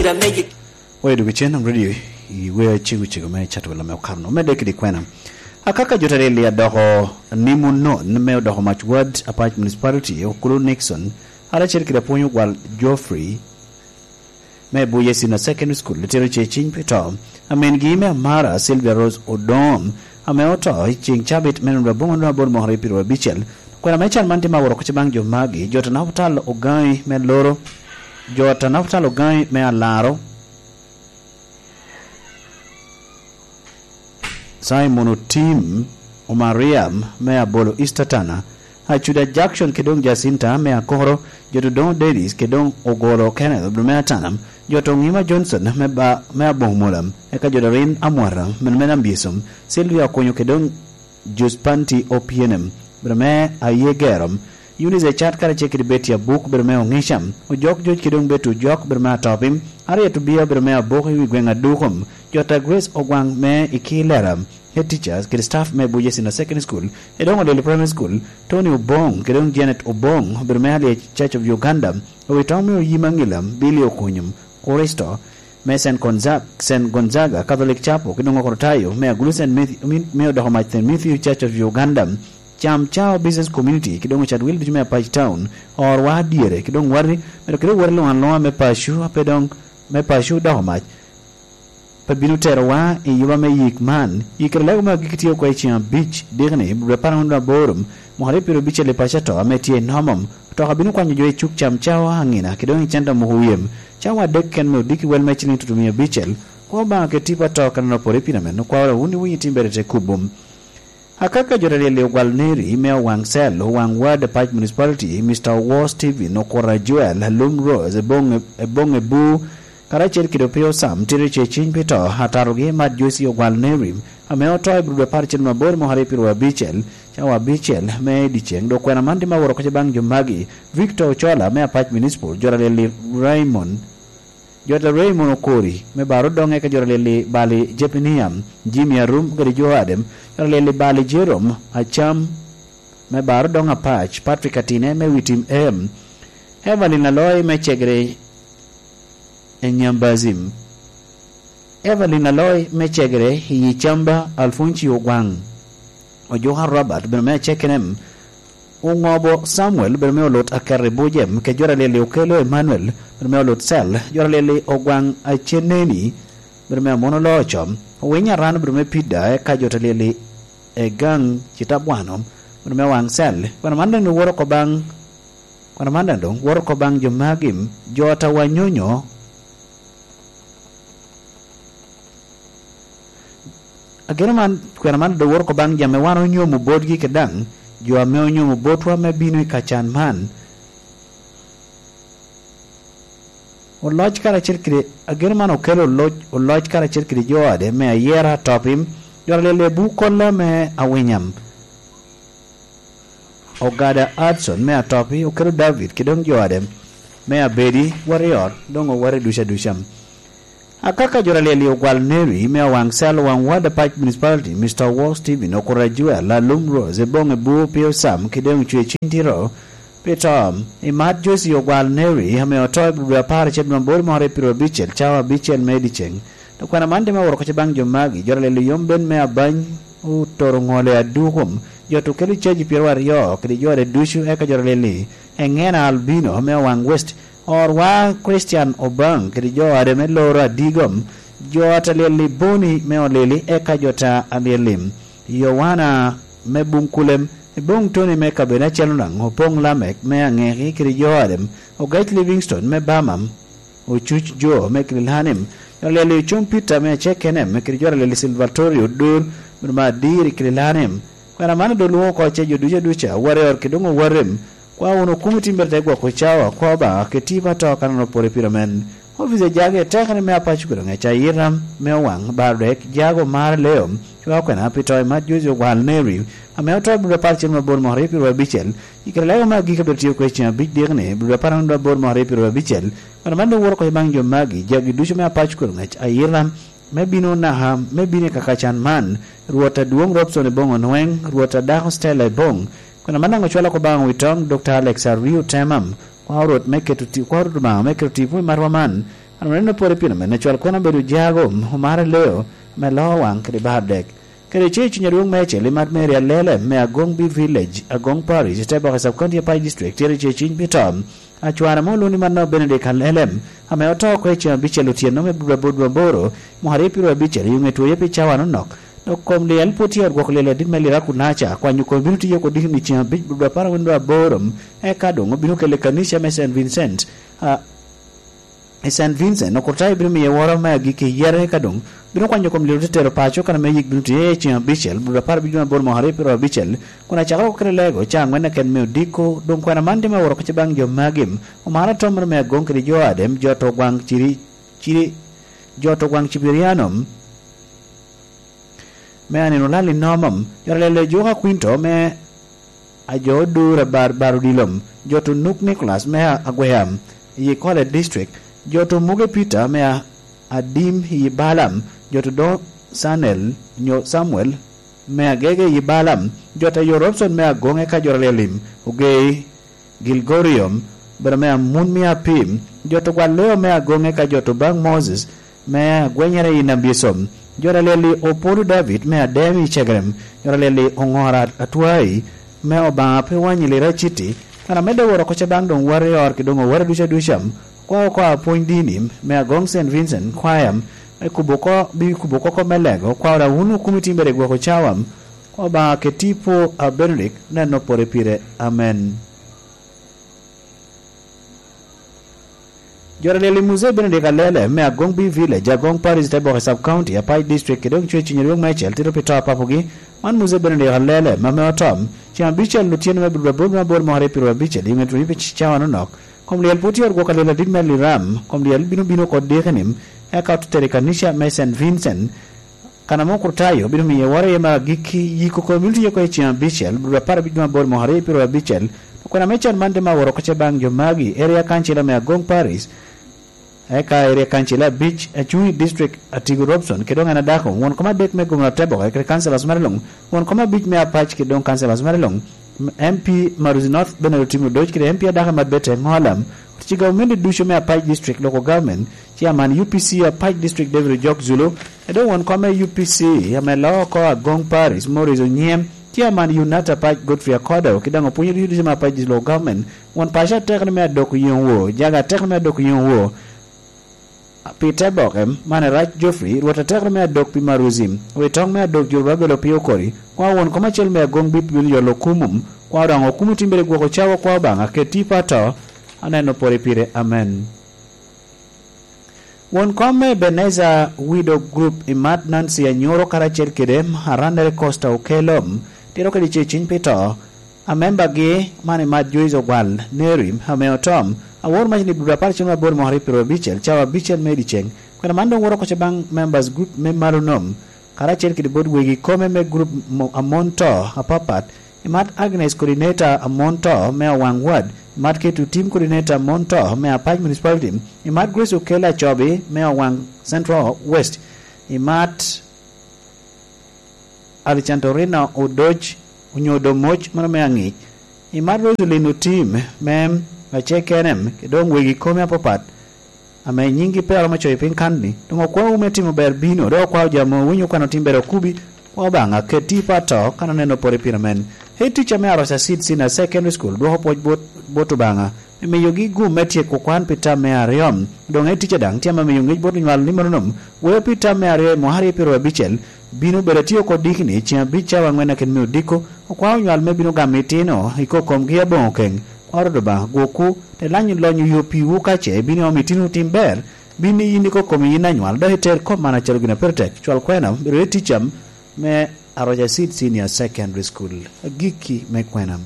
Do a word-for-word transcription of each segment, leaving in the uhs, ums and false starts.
Oyo dok icen nam redio i wea cego cego me cato welo me okano me dek kede kwena. Akaka jo Tareli adoko ni munon me odoko mac wad Apac Municipality, Okulu Nixon, aracel kede apwony ogwal Geoffrey me Buye Senior Secondary School, litero ce ciny pi to. Amin gi me Amara, Sylvia Rose Odom, ame oto i ceng cabit me nino aboŋo nino aboro mokere piro abicel. Kwena me can man tye ma woro kuca baŋ jo magi, jo Tanaputal Ogaŋi me Loro, jo Tanaputal Ogaŋi me Alaro, Simon Otim, Omariam me Abolo East Atana, Acuda Jackson kede doŋ Jacinta me Akoro, jo Dodoŋo Dennis kede doŋ Ogolo Kenneth obino me Atana, jo Toŋima Johnson me ba, me Aboŋo Mola, eka jo Dorin Amwata me, me Nambiesom, Sylvia Okonyo kede doŋ Jus Panti Opienem, bedo me Aye Gero, Eunice Ecat karacel kede Betty Abuk, bedo me Oŋica, Ojok Joc kede doŋ Betty Ojok, bedo me Atopi, Harriet Obia, bedo me Abok i wi gweŋ Adukom, Jota Grace Ogwaŋ me Ikilera, head teachers kede staff me Buja Senior Secondary School, Edongo Lili Primary School, Tony Oboŋ kede doŋ Janet Oboŋ, bedo me Allied Church of Uganda, Owitoŋ me Oyima Ŋilam, Billy Okunyum, Kristo, me Saint Gonzaga, Saint Gonzaga Catholic Chapel, kede doŋ Okrotayo me Agulu Saint Matthew, mi, mi odoko mac Saint Matthew Church of Uganda, Cam Cao Business Community, kede doŋ Ocad Wil ducu me Apac Town, orwa dyere, kede doŋ wati, medo kede wati luŋ aluŋa me paco, a pe doŋ, me paco odoko mac, pe bino terowa i yuba me yik man. Yik kede lego me agikki tye oko i ceng abic, dikni, dwe apar aboro, mwaka aryo piro abicel i paco ato, ame tye i Nomom. Otoka bino kwanyo jo i cuk Cam Cao aŋina, kede doŋ i centa moko wiyem. Cawa adek ken me odiki wel me ciliŋ tutumia abicel. Kwa Obaŋa kede tipo ato kan opore i pii amen, okwao wun iwinyo timbere te kubo. Akaka jo Tareli ogwal neri me Owaŋ Cell, Owaŋ Ward Apac Municipality, Mister Owor Stephen, Okura Joel, Alum Rose, Eboŋ, Eboŋ Ebu, karacel kede Opio Sam, tito ce ciny pi to, atatogi Mat Josie ogwal neri, ame oto i Budo apar cen mabor mwaka aryo piro abicel, cawa abicel me dyeceŋ, dok kwena man tye ma woro koca baŋ jo magi, Victor Ocola me Apac Municipal, jo Tareli Raymond, Jota Raymond Okori, me Baro Doŋe ka jota lili bali Jepiniam, Jimmy Arum kede jo Adem, jota lili bali Jerome Acam, me Baro Doŋ Apac, Patrick Atine me Witim Em, Evelyn Aloy me Cegere Enyambazim, Evelyn Aloy me Cegere i Icamba, Alfonsi Ogwaŋ, Ojuka Robert, bino me Acekenem, Oŋobo Samuel, bedo me olut Akerri Bujem, kede jota lili Okelo Emmanuel, bedo me olut Cel, jota lili Ogwaŋ Aceneni, bedo me Amono Loco, Owiny Aran, bedo me Pida, eka jota lili Egaŋ Citabwano, bedo me Waŋ Cel. Kwena man doŋ woro oko baŋ, kwena man doŋ woro oko baŋ jo magi, jota Wanyonyo, Ageno man, kwena man doŋ woro oko baŋ jo ame wan onyomo botgi kede daŋ jo ame onyomo botwa me bino i kacan man. Oloc karacel kede, ageno man okelo oloc, oloc karacel kede jo ode me ayera atopim, jo alele bu kolla me awinyam. Ogada Adson me Atopi okelo David kede doŋ jo ade me Abedi, wot i ot, doŋ owot i duca duca. Akaka jo Ralieli ogwal Neri me Owaŋ Cel, Owaŋ Ward Apac Municipality, Mister Wall Steven, Okura Joel, Alum Rose, Eboŋ Ebu, Pio Sam, kede doŋ Cwe Cintiro, pi to. Imat Josi ogwal Neri, ame oto i dwe apar acel me aboro mwaka aryo piro abicel, cawa abicel me dyeceŋ. Dok kwena man tye me woro koca baŋ jo magi, jo Ralieli yom ben me Abany, Otoro Ŋole Adukum, jo Tukelo Caji pyeraryo kede jo ade ducu, eka jo Ralieli, Eŋena Albino me Owaŋ West, orwa Christian Obaŋ kede jo ade me Loro Adigom, jo ta Ralieli Boni me Olili, eka jo ta Ralieli Yowana me Buŋkulem, Eboŋ Toni me kabedo acel onaŋ, Opoŋ Lamek me Aŋeki kede jo ade, Ogac Livingstone me Bamam, Ocuc Jo me Kililanim, jo Ralieli Ocom Peter me Acekenem, kede jo Ralieli Silvatorio Odur, bedo me Adir i Kililanim. Kwena man doŋ lwoŋo oko ce jo duca duca, wot i ot kede doŋ owatem. Kwa wunu kumi timbere te gwoko cawa, kwa Obaŋa, kede tipo ato kan onopore pire men. Opic a jage tekere me Apaco kede ŋec ayita me Owaŋ, Bardek, Jago, Mar, Leo, cwa kwena pi to i Mat Josi ogwal Neri, ame oto i dwe apar cen mabor mwaka aryo piro abicel, i kare lega me agikki abiro tio kwede cen abic dikni, dwe apar mabor mwaka aryo piro abicel, kwena man doŋ woro oko i baŋ jo magi, jagi ducu me Apaco kede ŋec ayita, me bino naka, me bino i kaka can man, Rwot adwoŋ Robson Eboŋ Onweng, Rwot adako Stella Eboŋ, kwena man daŋ ocwalo oko baŋ Witoŋ, Dokta Alex Ario Temam, kwa Rwot me keto ti-, kwa Rwot Obaŋa me keto tipo i matwa man, An oneno pwod i pino me Nacwal Kwena obedo jago, omaro leo, me loo waŋ kede bar dek. Kede ce i cuny adwoŋ me acel i mat Mary Alele me Agong B Village, Agong Parish, i te boke Sub County Apac District, tye i ce i cuny pi to. Acwar ame olwoŋo ni mano Benedict Alele, ame oto oko i ceŋ abicel otyeno me Budwa Budwa aboro, mwaka aryo piro abicel, i ŋe twoye pi cawa nonok. Dok kom lyel pwod tye i ot gwoko lyel adit me Lira Kunaca, kwanyo kom bino tiyo oko dikni ceŋ abic Budwa apar angwen dwe aboro, eka doŋ obino kele i kanica me Saint Vincent. A, i Saint Vincent, okurtayo bino miye woro me agikki yere ka doŋ bino kwanyo kom liro te tero paco kan ame yik bino tye i ceŋ abicel, Budwa apar abic dwe aboro mwaka aryo piro abicel, kun acakere oko kede lego ca angwen keken me odiko. Doŋ kwena man tye me woro kece baŋ jo magi, omaro atomere me Agong kede jo Adem, jo to gwaŋ ciri, ciri, jo to gwaŋ Cibiriano, me anino lal i nomam, jo Ralele Joka Kwinto me Ajo Odur Abar Bar Odilom, jo to Nuk Nicholas me Agwea, i Kole District, jo to Muge Peter me A-, Adim i Balam, jo to Do Sanel nyo Samuel me Agege i Balam, jo to Ayo Robson me Agonge ka jo Ralele Lim, Ogei, Gilgorium, bene me Amun me Apim, jo to gwal leo me Agonge ka jo to baŋ Moses, me agwenyere i Nambiesom, jo Ralele Opolo David me Ademi i Cegerem, jo Ralele Oŋora Atwai, me Obaŋa pe wanyi lira citi, kan amedde woro oko ce baŋ doŋ wari ot ki doŋ owere duca duca, kwa oko apwony dini, me Agong Saint Vincent Choir, me kubo ko, bi kubo koko me lego, kwa ora wun okumi timbere gwoko cawam, kwa Obaŋa ke tipo a Benedict neno pore pire. Amen. Jo Ralele Muzee Benedict Alele me Agong B Village, Agong Parish, te boke Sub County, Apac District, kede doŋ cwe cuny rwek me acel tito pi to a papogi. Man Muzee Benedict Alele, ma me otom, ceŋ abicel otyeno me Budwa aboro me aboro mwaka aryo piro abicel, i ŋet rweny pi cawa nonok. Kom lyel pwod tye ot gwoko lyel adit me Liram, kom lyel bino bino oko dikeni, eka ote tero i kanica me Saint Vincent, Kan ame okurtayo bino miyo woro iye me agikki, yiko kom bino tiyo oko i ceŋ abicel, Budwa apar abic dwe aboro mwaka aryo piro abicel, okwena me can man te ma woro oko ce baŋ jo magi, Area Council me Agong Parish, eka Area Council abic, acuŋ i district Atigo Robson, kede doŋ en adako, won kom adek me gomna Teboke, kede councillors mere luŋ, won kom abic me Apac, kede doŋ councillors mere luŋ, M P Maruzi North Bernard Otim Odoc, kede M P adako Mat Bete Ŋolam, otici gavumenti ducu me Apac District Local Government, Chairman U P C Apac District David Ojok Zulu, Edo won kom me U P C ame loo oko Agong Parish, Morris Onyiem, Chairman Unata Pac Godfrey Akodo, ki daŋ opwonyo ducu ducu me Apac District Local Government, won paco atek ni me adok yoŋ wo, jaga atek ni me adok yoŋ wo, pi te boke, man Erac Geoffrey, Rwot atek ni me adok pi Maruzi, wi toŋ me adok Jurubabel Opio Okori, kwa won kom acel me Agong Bip Junior Lokumum, kwa daŋ okumo timbere gwoko cawa kwa Obaŋa, keti pa to, aneno pore pire, amen. Won kom me Ebenezer Widow Group i mat Nancy Anyoro karacel kede Arandere Costa Okello, tito kede ceciny pi to, a membagi man i mat Joyce Ogwal Neri ame otom, awor mac ni Budwa apar cen aboro mwaka aryo piro abicel, cawa abicel me dyeceŋ. Kwena man doŋ woro oko ce baŋ members group me malo nom, karacel kede bot wegi kome me group mo-, a mon to apapat, i mat Agnes Coordinator a mon to me Awaŋ Ward, i mat Keto Tim Coordinator a mon to me Apac Municipality, i mat Grace Okello Acobi me Awaŋ Central West, i mat Alexandrina Odoc, onyo Odomoc, mano me Aŋic, i mat Roseline Otim me Acekenem, kede doŋ wegi kome apapat, ame nyiŋgi pe aromo coyo piny kan-ni, doŋ okwaowu me timo ber bino, dok okwao jo ame owinyo kwano tim ber okubi, kwa Obaŋa, keti i pat to, kan oneno pore pire men. Head teacher me Aroca Seed Senior Secondary School dwoko pwoc bot, bot Obaŋa, me miyogi gum me tyeko kwan pi tam me aryo. Doŋ head teacher daŋ tye ame miyo ŋec bot onywal ni mono nom, weo pi tam me aryo i mwaka aryo piro abicel, bino bedo atye oko dikni, ceŋ abic cawa aŋwen akin me odiko, okwao onywal me bino gamo itino, i kokomgi aboŋo keŋ, kwa Rwot Obaŋa gwokwu, te lanyo lonyo yo piwu ka ce ibino iomo itino tim ber, bin iyin ikokomi yin anywal, dok iter kop man acalo gin a pire tek. Cwal kwena, bedo i tic cam me Aroca Seed Senior Secondary School. Agikki me kwena.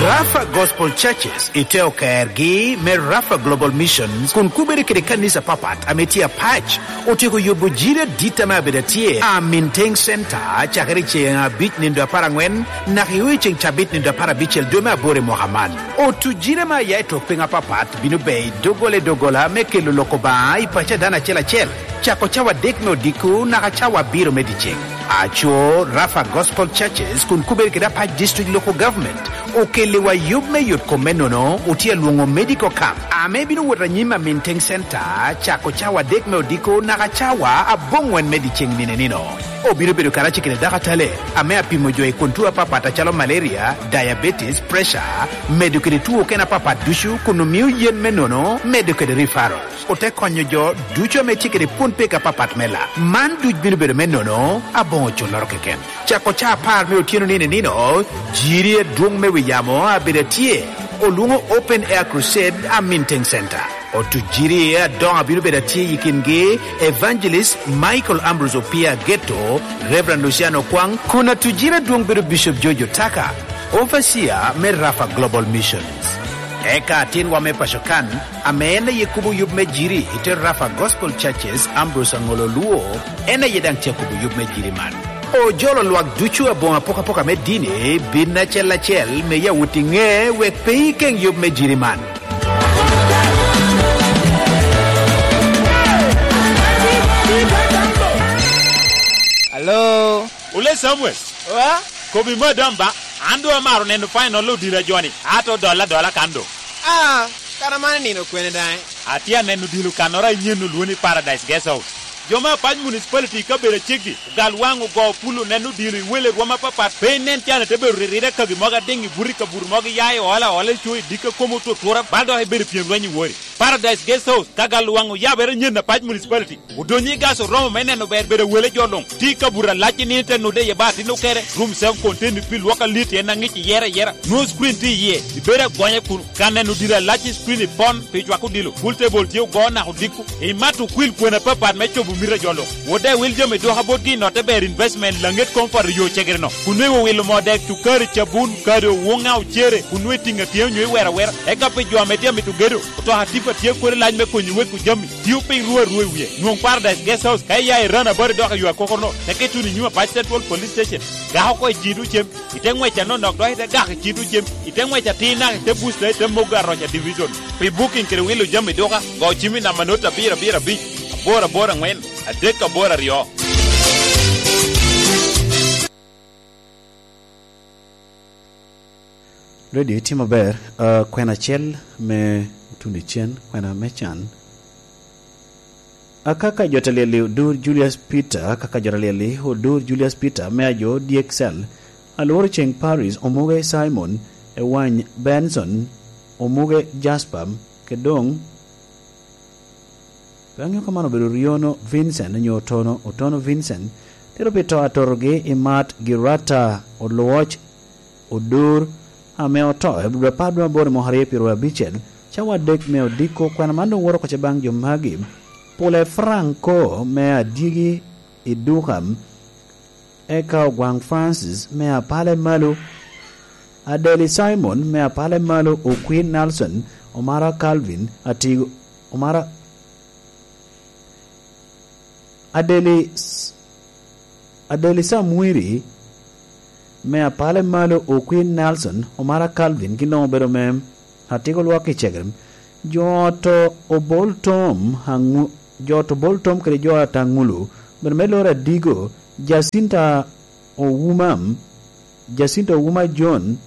Rafa Gospel Churches i te okergi me Rafa Global Missions kun kubere kede kanisa papat ame tye apac. Otyeko yubo jiri adit ame abedo atye, a Minteng Center, cakere i ceŋ abic nindo apar aŋwen, naka i ceŋ cabit nindo apar abicel dwe me aboro i mwaka man. Otu jiri ame aya i tok piny apapat bino bedo i doggola i doggola me kelo lok Obaŋa i paco a dano acel acel. Cako cawa adek me odiko naka cawa abiro me dyeceŋ. Aco, Rafa Gospel Churches kun kubere kede Apac District Local Government okelliwa yub me yot kom me nono, otye alwoŋo medical camp, ame bino wot anyim Aminteŋ Center, cako cawa adek me odiko naka cawa aboŋwen me dyeceŋ nino nino. Obino bedo karacel kede dakatale ame apimo jo i kwon tuo apapat acalo malaria, diabetes, pressure, medo kede tuo okene apapat ducu, kun omio yen me nono, medo kede referral. Ote konyo jo ducu ame tye kede pwon pek apapat me lak. Man duc bino bedo me nono, aboŋo culloro keken. Cako ca apar me otyeno nino nino, jiri adwoŋ me wi yamo abedo atye, olwoŋo Open Air Crusade Aminteŋ Center. Otujiri adoŋo abino bedo atye i kingi, Evangelist Michael Ambrose Opia Geto, Reverend Luciano Kwang, kun atujiri adwoŋ bedo Bishop George Otaka, Overseer me Rafa Global Missions. Eka atinwa me paco kan, ame en aye kubo yub me jiri i te Rafa Gospel Churches, Ambrose Aŋolo Luo, en aye daŋ tye akubo yub me jiri man. Ojolo lwak ducu aboŋo apokapoka me dini, bin acel acel, me yawot i ŋe, wek pe ikeŋ yub me jiri man. Alo? Ole Samuel. Wa? Kobi madam ba, an doŋ amaro neno final odilo a joni, ato dolla dolla kan doŋ. Ah, kara man nino kwene daŋ? Atye aneno odilo kannoro a inyen olwo ni Paradise Guest House. Jo me Apac Municipality i kabedo aceggi, ogal waŋ ogo pul oneno odilo i wele rwom apapat, pe inen can ite bedo riride kagi mogo adiŋ i buto i kabuto mogo iya i ola ola i co i dikka kom otutura, bal dok ibedo pyem lweny i wori. Paradise Guest House, ka gal waŋ oyabere nyen Apac Municipality. Odonyo i gas oromo me neno ber bedo wele jo luŋ. Ti kabuto alac i nino te nude iye ba atin okere, room self contained pi lwok alit en aŋic iyere ayera. Nwoŋo screen tye iye, ibedo agonya kun ka neno diro alac i screen ipon pi cwako odilo. Pool table tye ogo naka odiko. Imato okwil kwena apapat me cobo mito a jo luŋ. Wode wil jami duka botgi i notte ber investment laŋet kom poto yo cegere-no. Kun nwoŋo iwilo moo dek, cukari, cabun, kado, woŋa, ocere, kun nwoŋo itiŋo atyeo nyo iwero awera. Eka pi jo ame tye amito gedo, otoka tipa tye kodi lac me konyo weko jami. Tio piny ruu arua i wie. Nwoŋ Paradise Guest House ka iya i Rana Bari dok i yo akokorno, teke tuno i nyim Apac Central Police Station. Gak oko i cito cem, ite ŋwec anonok dok ite gak i cito cem, ite ŋwec atir naka ite buc dok ite mogo aroc a division. Pi booking kede wilo jami duka, go cim i namba not abiro abiro abic, aboro aboro aŋwen, adek aboro aryo. Redio itye maber. Ah, kwena acel me otuno icen, kwena me can. Akaka jo ta lyel-li odur Julius Peter, akaka jo ta lyel-li odur Julius Peter me ajo dyek cel, alworo ceŋ Paris, omuge Simon, Ewany Benson, omuge Jasper, kede doŋ Pe aŋeo ka man obedo Riono Vincent onyo Otono, Otono Vincent, tito pi to atotogi i Mat Girata Olwoc Odur, ame oto i abiro apar dwe aboro i mwaka aryo pyeraryo abicel, cawa adek me odiko. Kwena man doŋ woto oko ce baŋ jo magi: Pule Franco me Adyegi i Durham, eka Ogwaŋ Francis me Apale Malo, Adeli Simon me Apale Malo, Okwir Nelson, Omara Calvin, Atigo, Omara, Adeli S-, Adeli Samwiri me Apale Malo, Okwir Nelson, Omara Calvin, gin doŋ obedo me Atigo lwak i Cegerem. Jo ot Obol Tom Aŋu-, jo ot Obol Tom kede jo ot Aŋulu, obedo me loro Adigo, Jacinta Owuma, Jacinta Owuma John,